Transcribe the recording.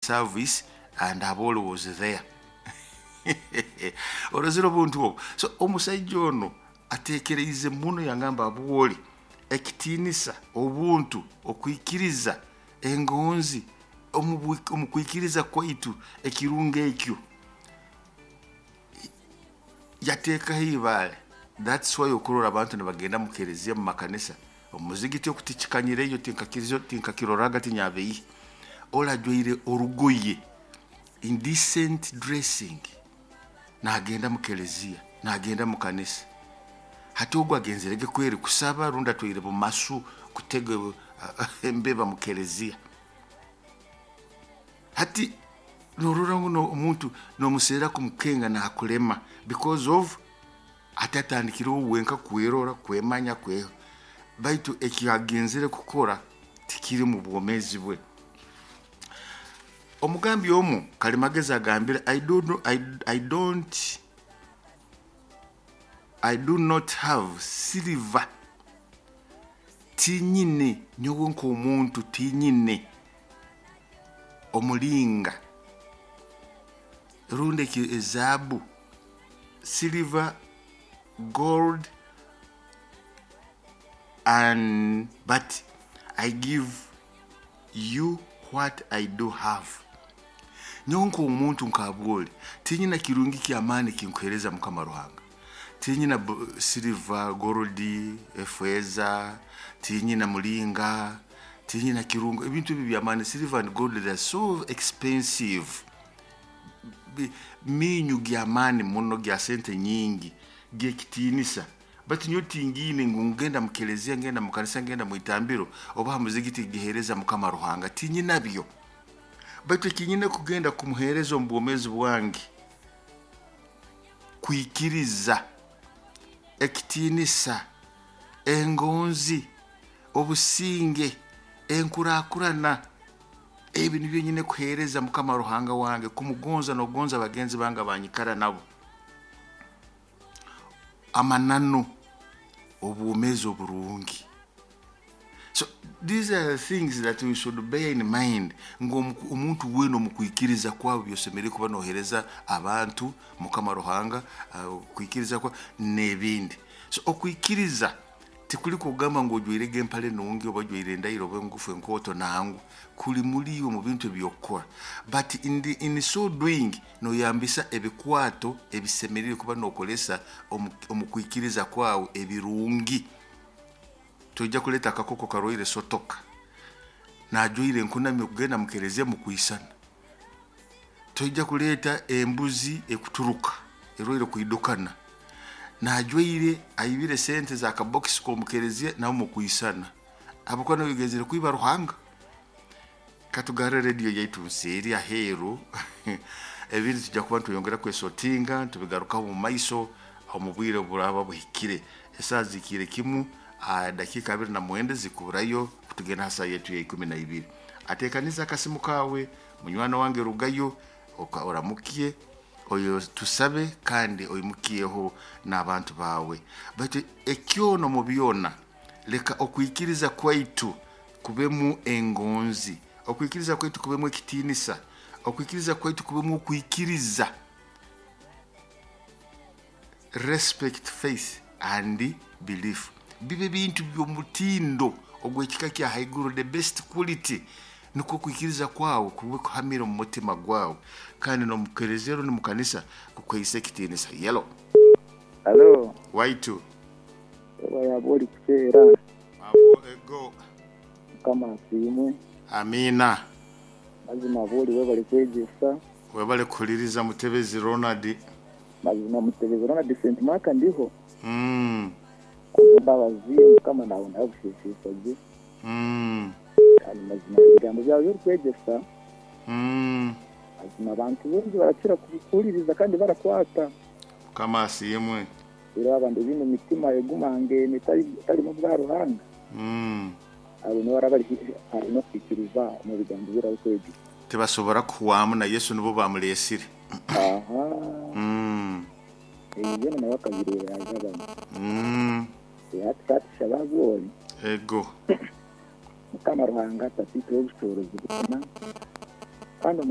service and Aboli was there. Orozire obuntu obwo. So omusaija ono atekereize muno, yangamba Aboli ekitiinisa, obuntu, okwikiriza, engonzi omu kwikiriza kwaitu, ekirungo ekyo yateekaho ibaale. That's why okurora abantu nibagenda mu kereziya, mu makanisa, omuzigiti okutikikanyireyo, tinkakirizo, tinkakiroraga, tinyabeihe orajwaire orugoye, indecent dressing, nagenda mu kereziya, nagenda mu kanisa. Hati ogwo agenzerege kweri kusaba, rundi atwaire bumasu kutega embeba mu kereziya? Hati norora ngu omuntu nomuseera kumukenga nakulema because of ati atandikireho wenka kwerora, kwemanya kwe, baitu ekiyagenzere kukora tikiri mu bwomezi bwe. Omugambi omu Kalimagezi agambire, I do, no, I don't I do not have silver, tinyine nyowe nk'omuntu, tinyine omulinga rundi ezaabu, silver, gold, and but I give you what I do have. Nyowe nk'omuntu nkabwoli tinyina kirungi kyamaani kinkuheereza Mukama Ruhanga. Tinyina silver, gold, efeeza, tinyina mulinga, tinyina kirungo, ebintu ebi byamaani. Silver and gold, they are so expensive, minyu gyamaani muno, gya sente nyingi, gyekitiinisa, baitu nyowe tingiine ngu ngenda mu kereziya, ngenda mu kanisa, ngenda mu itambiro oba ha muzigiti giheereza Mukama Ruhanga, tinyinabyo. Baitu ekinyine kugenda kumuheereza omu bwomeezi bwange, kwikiriza, ekitiinisa, engonzi, obusinge, enkurakurana, ebi nibyo nyine kuheereza Mukama Ruhanga wange, kumugonza n'okugonza bagenzi bange abanyikara nabo, amananu, obwomeezi oburungi. So these are the things that we should bear in mind ngu omuntu weena omu kwikiriza kwawe byosemereire kuba nohereza abantu Mukama Ruhanga, kwikiriza kwa n'ebindi. So okwikiriza tikuli kugamba ngu ojwairege empale nungi oba ojwaire endairo oba engufu enkooto, nangwa kuli muri iwe mu bintu ebyokukora, but in so doing noyambisa ebikwato ebisemereire kuba nokolesa omu kwikiriza kwawe ebirungi. Toija kuleta akakoko karwaire sotoka najwaire enkunami okugenda mu kereziya mukwisana. Toija kuleta embuzi ekuturuka erwaire kwidukana najwaire aibire sente za kabokisi k'omukereziya nabo mukwisana, habwokuba nobigenzere kwiba Ruhanga. Katugarre rediyo yaitu nseeri aheeru, ebindi tujja kuba nitweyongera kwesotinga, tubigarukaho mu maiso omu bwire buraba buhikire. Esaaha zikiire kimu dakiika 29 zikuburayo kutugenda ha saaha yaitu ya 12. Ateekaniza akasimu kawe munywani wange, rugayo oramukye oyo, tusabe kandi oimukyeho n'abantu bawe. Baitu ekyono mu byona, leka okwikiriza kwaitu kubemu engonzi, okwikiriza kwaitu kubemu ekitiinisa, okwikiriza kwaitu kubemu okwikiriza, respect, faith and belief, bibe bintu by'omutindo ogw'ekika kya haiguru, the best quality, nikwo okwikiriza kwawe kube kuhamire omu mutima gwawe kandi n'omukereziya rundi mu kanisa kukuhaisa ekitiinisa. Yelo. Halo. Waitu. Oba yaba ori kuseera. Abo ego. Mukama asiimwe. Amiina. Mazima bwori webale kwegyesa. Webale kuhuliriza Mutebezi Ronald. Mazima Mutebezi Ronald St Mark ndiho. Mbabazi Mukama nawe nabushesesa gye. Kandi mazima ebigambo byawe by'orikwegyesa, mazima abantu baingi barakira kuhuririza kandi barakwata. Mukama asiimwe. Reero abandi baine emitima egumangene etarimu bwa Ruhanga, abo nibo baraba bari hare n'okwikiriza omu bigambo bi orikwegyesa. Tibasobora kuhwamu na Yesu nibo bamuleesire. Aha. Ebi byona nawe akabireeba yaajabana. Hati ka tushabe ahabw'ori. Ego. Mukama Ruhanga Tataitwe w'obushoboorozi bwona, kandi Omwana.